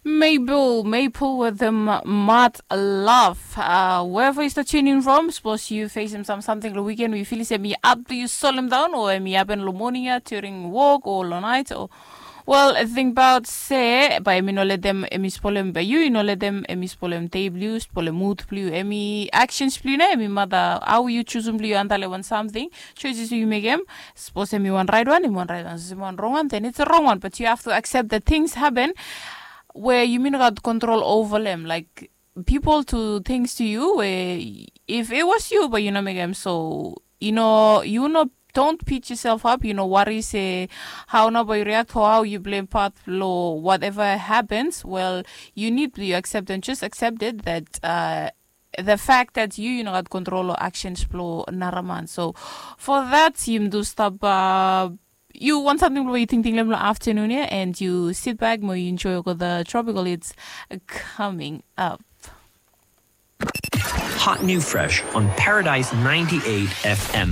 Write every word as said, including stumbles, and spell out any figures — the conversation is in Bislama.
Mabel, Mabel wetem Mad Love. Uh, wherever you start tuning from, sapos yu fesim sam samting long wiken we yu filim se em i at blong yu solemdaon o em i hapen long moning ya during wok o long nait o, wel, tingbaot se bae em i no letem em i spolem, bae yu i no letem em i spolem dei blong yu, spolem mud blong yu, em i actions blong yu na em i mata hao yu jusum blong yu antap long wan samting, choices we yu mekem. Sapos em i wan raetwan, em i wan raetwan. Sapos em i wan rongwan, then it's a wrong one. But you have to accept that things happen where yumi no gat control over them. Like, people do things to you where if it was you, but yu no mekem so, yu no, yu no, don't beat yourself up. Yu no worry se hao nao bae yu react o hao yu play part long whatever happens. Well, yu nid blong yu accept and just accept it that uh, the fact that yu yu no gat control o actions blong nara man. So for that, yumi do stap uh, yu want samting blong yu tingting long afternoon ya, and yu sit back mo yu enjoy the tropical hits coming up. Hot new fresh on Paradise ninety-eight F M.